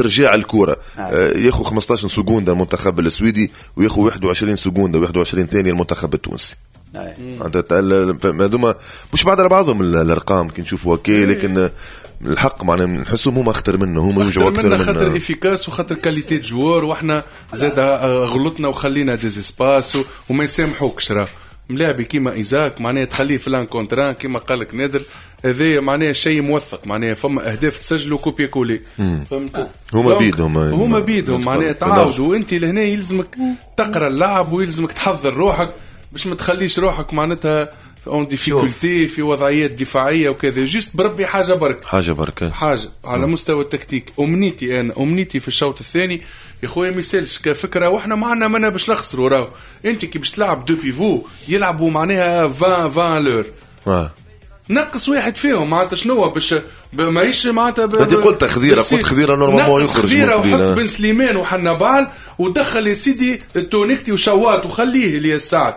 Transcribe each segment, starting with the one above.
استرجاع الكره. ياخذ 15 seconde المنتخب السويدي وياخذ 21 seconde 21 ثانية المنتخب التونسي. هذوما مش بعد على بعضهم الارقام كي نشوفوا هكا، لكن الحق معناها نحسهم هما اخطر منه، هما يوجعوا اكثر منا خاطر efficaces وخاطر qualité joueurs، واحنا زاد غلطنا وخلينا des espaces وما يسامحوكش. راه ملاعبي كيما ايزاك معناها تخليه في l'un contre un كيما قال لك نادر، هذا معناها شيء موثق، معناها فما اهداف تسجلوا copier-coller، فهمت؟ هما بيدهم هما بيدهم معناها تعاودوا، وانت لهنا يلزمك تقرا اللعب ويلزمك تحضر روحك باش ما تخليش روحك معناتها en difficulté في وضعيات دفاعية وكذا. juste بربي حاجة برك، حاجة برك، حاجة على مستوى التكتيك. امنيتي انا، امنيتي في الشوط الثاني يا خويا ما يسالش كفكره، واحنا ما عندنا منا باش نخسروا. راهو انت كي باش تلعب deux pivots يلعبوا معناها 20 à l'heure، نقص واحد فيهم معناتها شنو باش ماهيش معناتها. انت قلت خذيره، قلت خذيره normalement يخرج خذيره، وحط بن سليمان وحنبال ودخل يا سيدي التونكتي وشوات وخليه اللي السعد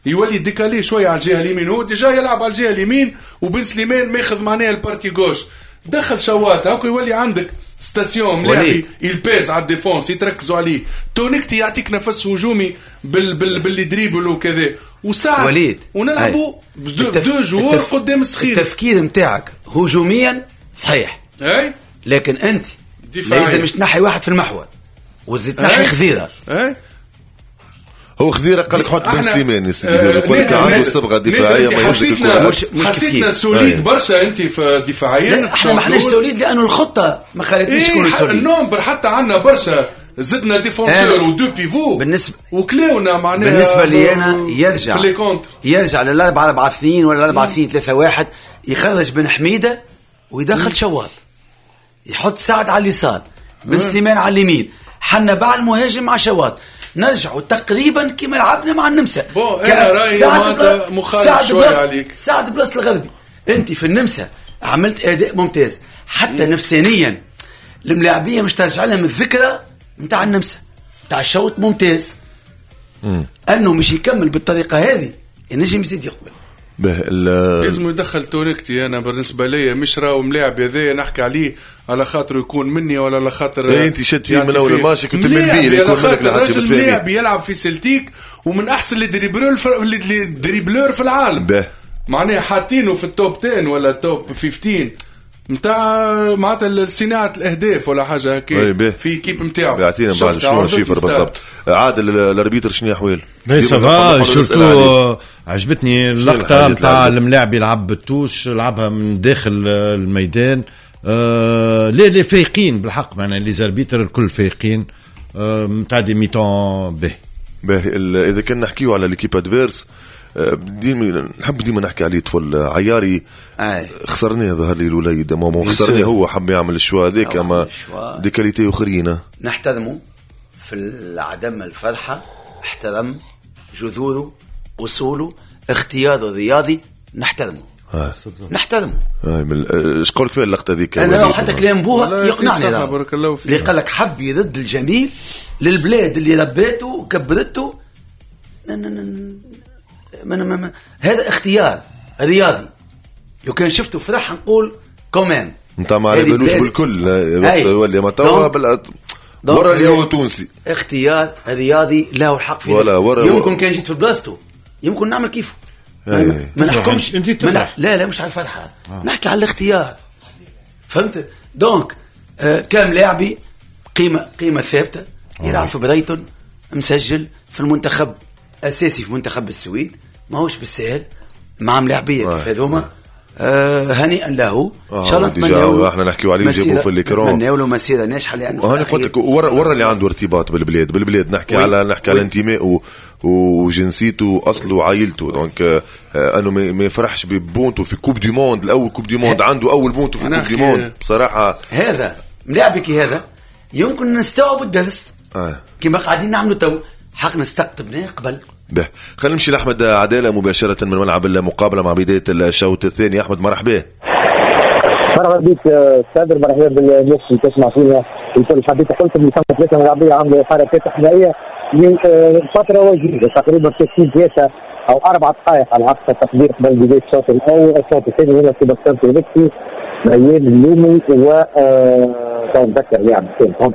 يولي décalé شوية على الجهة اليمين، هو déjà يلعب على الجهة اليمين وبن سليمان ماخذ معناها ال partie gauche، دخل شوات هاكا يولي عندك station ملاعبي il pèse على ال défense يتركزوا عليه. تونكتي يعطيك نفس هجومي بال les dribbles وكذا وساعد وليد، ونلعبوا deux joueurs قدام الصخير. التفكير نتاعك هجوميا صحيح، اي، لكن انت لازم مش تنحي واحد في المحور وتزيد تنحي خذيره. اي هو خذيره قال لك حط بن سليمان يا سيدي، يقول لك عنده صبغة دفاعية ما يهزك الكره. حسيتنا solide برشا انت في دفاعيا. احنا ما احناش solides لانه الخطة ما خلتنيش نكونوا solides. ال nombre حتى عندنا برشا، زدنا défenseurs و deux pivots بالنسبة وكلاونا معناها. بالنسبة لي انا يرجع في les contres، يرجع لل 4 4 2 ولا 4 2 3 1، يخرج بن حميده ويدخل شواط، يحط سعد على اليسار، بن سليمان على اليمين، حنا بعد المهاجم مع شواط، نرجعوا تقريبا كما لعبنا مع النمسا. bon انا رايي مخالف شوية عليك. سعد بلاصة الغربي، انت في النمسا عملت اداء ممتاز حتى نفسانيا الملاعبيه مش ترجع لهم الذكرى نتاع النمسا نتاع الشوط ممتاز. انه مش يكمل بالطريقة هذه ينجم يزيد يقبل. لازم يدخل تونكتي. انا بالنسبة لي مش راهو ملاعب هذايا نحكي عليه على خاطر يكون مني ولا على خاطر انت شد فيه من اول الماتش كنت من بيه يكون منك لحد ملاعب يلعب في سلتيك ومن احسن les dribbleurs في العالم. معناها حاطينه في ال top 10 ولا top 15 نتاع معناتها صناعة الاهداف ولا حاجة هكا في équipe نتاعو. يعطينا بعد شنو ال chiffre بالضبط. عادل ال arbitre شنو احوال؟ ça va surtout عجبتني اللقطة نتاع الملاعب يلعب بال touche، لعبها من داخل الميدان. les فايقين بالحق معناها les arbitres الكل فايقين نتاع des mi-temps به. اذا كنا نحكيو على l'équipe adverse ديما نحب ديما نحكي عليه طفل عياري. خسرناه ظهر لي الوليد ما خسرناه، هو حب يعمل ال choix هذاك اما des qualités اخرين. نحترمه في عدم الفرحة، احترم جذوره اصوله اختياره الرياضي، نحترمه. نحترمه. ايش قولك في اللقطة ذيك؟ انا حتى كلام بوها يقنعني، بارك الله فيك، اللي قال لك حب يرد الجميل للبلاد اللي رباته وكبرته. ما هذا اختيار رياضي. لو كان شفته فرح نقول كمان انت ما على بالوش بالكل وقت يولي ما توا ورا اللي هو تونسي. اختيار رياضي له الحق فيه. يمكن كان جيت في بلاصته يمكن نعمل كيفه. ما نحكمش. لا لا مش على الفرحة. نحكي على الاختيار، فهمت؟ donc كام لاعبي قيمة ثابتة يلعب في برايتون، مسجل في المنتخب اساسي في منتخب السويد، ماهوش بالسهل مع ملاعبيه كيف هذوما. هنيئا له ان شاء الله. نتمنى احنا نحكيو عليه جابوه في ال écran، نتمنى له مسيره ناجحة لانه هاني قلت لك ورا اللي عنده ارتباط بالبلاد نحكي على نحكي على انتمائه وجنسيته واصله وعائلته. donc انه ما يفرحش ببونتو في coupe du monde، الاول coupe du monde عنده اول بونتو في coupe du monde بصراحة. هذا ملاعبك هذا يمكن نستوعب الدرس كما قاعدين نعملوا تو، حق نستقطبناه قبل. به خلينا نمشي لأحمد عدالة مباشرة من ملعب المقابلة مع بداية الشوط الثاني. أحمد مرحبا. مرحبا بك سادر، مرحبا بالناس اللي تسمع فينا الكل. حبيت قلت اللي ثم ثلاثة ملاعبية عملوا حركات إحمائية من فترة وجيزة تقريبا 30 دقيقة أو 4 دقائق على أقصى تقدير قبل بداية الشوط الأول. الشوط الثاني هنا سيباستيان تونكتي، ميال اللومي و تو نذكر لاعب.